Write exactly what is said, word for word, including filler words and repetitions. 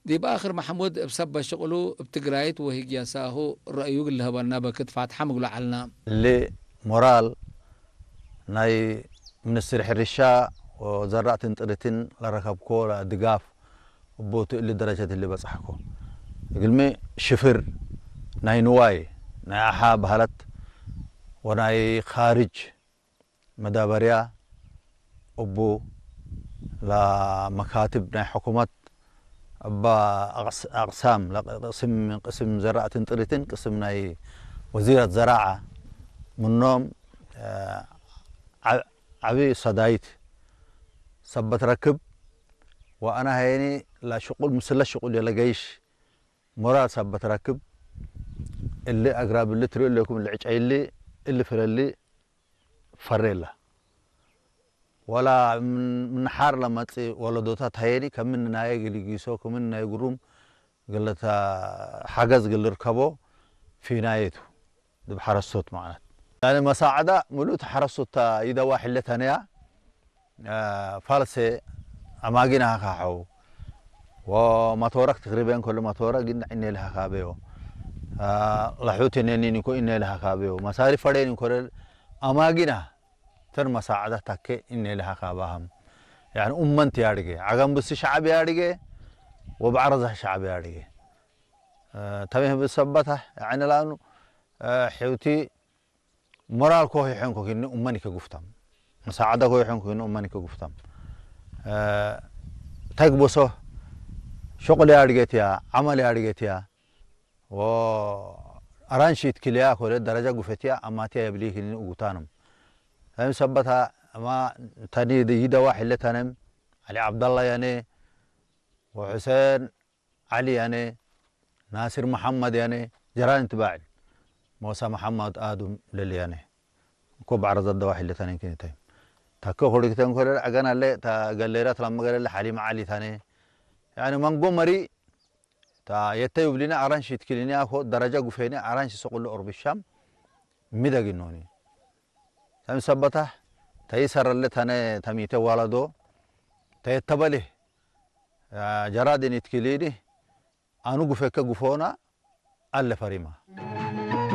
ዲብ አክር መሐሙድ እብ ሰበት ሽቅሉ እብ ትግራይት ወህግያሳሁ ረአዩ እግል ልሀበና በክት ፋትሐም እግሉ ዐልና። እሊ ሞራል ናይ ምንስትር ሕርሻ ወዘራእትን ጥሪትን ለረከብኮ ድጋፍ እቡ ቱ እሊ ደረጀት እሊ በጽሐኮ። እግልሚ ሽፍር ናይ ንዋይ ናይ አሓ በህለት ወናይ ካርጅ መዳበርያ እቡ ለመካትብ ናይ ሕኩመት እበ አቅስ-፣ አቅሳም ለቅስም፣ ቅስም ዘራእትን ጥሪትን ቅስም ናይ ወዚረት ዘራዐ ምኖም፣ ዐ-፣ ዐቢ ሰዳይት ሰበት ረክብ ወአነ ሀየኒ ለሽቁል ምስለ ሽቁል ለገይሽ ሞራል ሰበት ረክብ እሊ አግራብ እሊ ትርእዩ እሌኩም እሊ ዕጨይ እሊ እሊ ፍረ እሊ ፈሬ እለ። ወላ ምን፣ ምን ሐር ለመጽእ ወለዶታት ሀየኒ ከምን ናየ እግል ኢጊሶ፣ ከምን ናይ ግሩም እግል ለተ-፣ ሐገዝ እግል ልርከቦ ፊናዬ ቱ። ዲብ ሐረሶት መዕነት። ያኒ መሳዕዳ ምሉእ ተ ሐረሶት ተ ኢደዋ ሕለ ተነያ፣ አ፣ ፋልሴ አማጊን አካሐው። ወመቶረክ ተቅሪበን ከሉ መቶረ ግን እኔ ለሀካበዮ። አ፣ ለሑት እኔ ኒኒኮ እኔ ለሀካበዮ። መሳሪ ፈሬን እንኮ አማጊና ተን መሳዕዳ ታኬ እኔ ለሀካባህም። ያኒ ኡመንት ያድገ፣ ዐገም ብስ ሸዐብ ያድገ፣ ወበዐረዛ ሸዐብ ያድገ። አ፣ ተሜህ ብሰበታ፣ ያኒ ላኑ፣ አ፣ ሕውቲ ሞራል ኮ ይሖንኮ ክኒ ኡመን ከጉፍታም። መሳዕዳ ኮ ይሖንኮ ክኒ ኡመን ከጉፍታም። አ፣ ተግበሶ ሸቁል ያድገትያ፣ ዐመል ያድገትያ፣ ወአራንሺት ክልያ ኮለ ደረጃ ጉፈትያ አማትያ የብሊ ክኒ እጉታንም። ፈም ሰበታ አማ ተኒ ይደዋ ሕለ ተነም፣ ዐሊ ዐብደላ ያኔ፣ ወሑሴን ዐሊ ያኔ፣ ናስር መሐመድ ያኔ፣ ጀራን ትባዕል፣ ሞሳ መሐመድ አዱም ለልያኔ። እኮ በዐረዘት ደዋሒ ለተኔን ክኒታይ። ታከ ኮሪክተን ኮለል አገን አለ፣ ታ ገሌረት ለመገለለ ሐሊም ዐሊ ታኔ። ያኒ መንጎ መሪ፣ ታ የተዩብሊነ አራንሽ ይትክሊኒ አኮ ደረጃ ጉፌኒ አራንሽ ሰቁሉ ኦርቢ ሻም ሚደግኖኒ። ተምሰበታ ተይሰረለ ተነ ተሚተ ዋለዶ ተየተበሌ ጀራድን ይትክሊኒ አኑ ጉፌከ ጉፎና አለ ፈሪማ።